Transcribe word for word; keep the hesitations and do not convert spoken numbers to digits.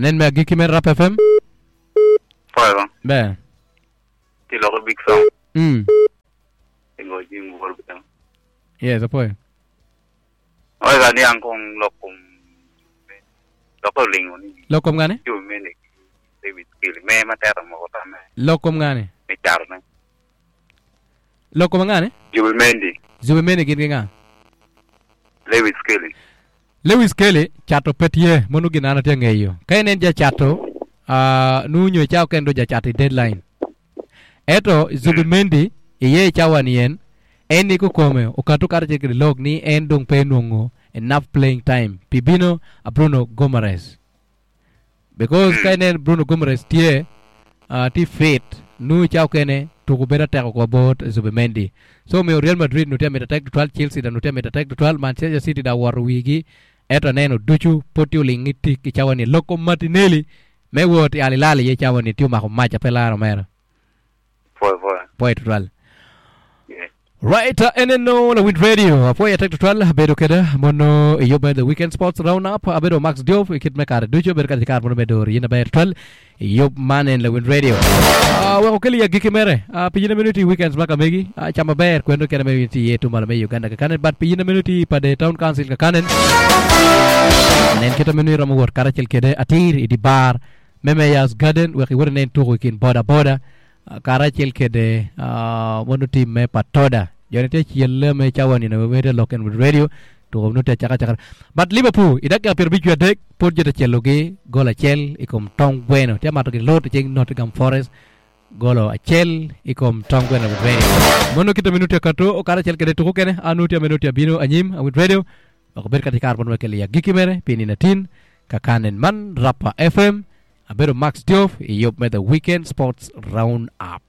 Anen me agiki me Rap F M. Forever. Be. Ti loko big song. Mm. Ingo jing wor bem. Yes, apoy. Oi ga ni angkong lokum. Loko lingo ni. Lokum ngani? Ju mene. David Skill me matera mo kotame. Lokum ngani? Me charne. Lokum ngani? Ju Mendy. Ju Mendy gin nga. Lewis Kelly. Lewis Kelly chato petie monu ginana tie ngeyo. Ka en ja chato uh, nunyo chao kendo ja chato deadline. Eto Zubimendi iye chawa ni en en ni kukome okatu kar chekri log ni en dong pe nongo enough playing time pibino a Bruno Gomares. Because ka en Bruno Gomares tie uh, ti fit nu chao kene tuku beda teko kwa bot Zubimendi. So mi Real Madrid nutia mita tek twelve, Chelsea da nutia mita tek twelve, Manchester City da waru wigi. Eto neno duchu poti ulingi tik chawa ni Loko Martinelli me wot alilali ye chawa ni tiu mako macha pelaro mera. Four four. Point twelve. Yeah. Right, uh, N N O la Wind Radio. Apoya tek twelve bedo keda mono yobe the weekend sports round up abedo Max Diop ikit me kare duchu bedo kare kar mono bedo yina ber twelve yob manen la Wind Radio. Uh, weko keli ya giki mere. Uh, pijina minuti weekends maka megi. Uh, chama ber kwendo kena minuti yetu mala me Uganda kakanen but pijina minuti pa de town council kakanen. Nen kita minuti ramu wor karachel kede atir idi bar Memeyas Garden weki wore nen tuku ikin boda boda uh, karachel kede uh, mono team me patoda. Jone te chiel me chawani na wede Lock and Wind Radio to no te chaka chaka. But Liverpool idaka pier bichu adek pod jete chelogi goal achiel ikom tong bueno te mato gi lot cheng Nottingham Forest golo achiel ikom tong bueno Wind Radio. Mono kita minuti kato okara chel kede tuku kene anuti minuti abino anyim Wind Radio ok ber katika arbon wekeli ya giki mere pini na tin kakanen man Rapa F M abedo Max Diof iyop me the weekend sports round up.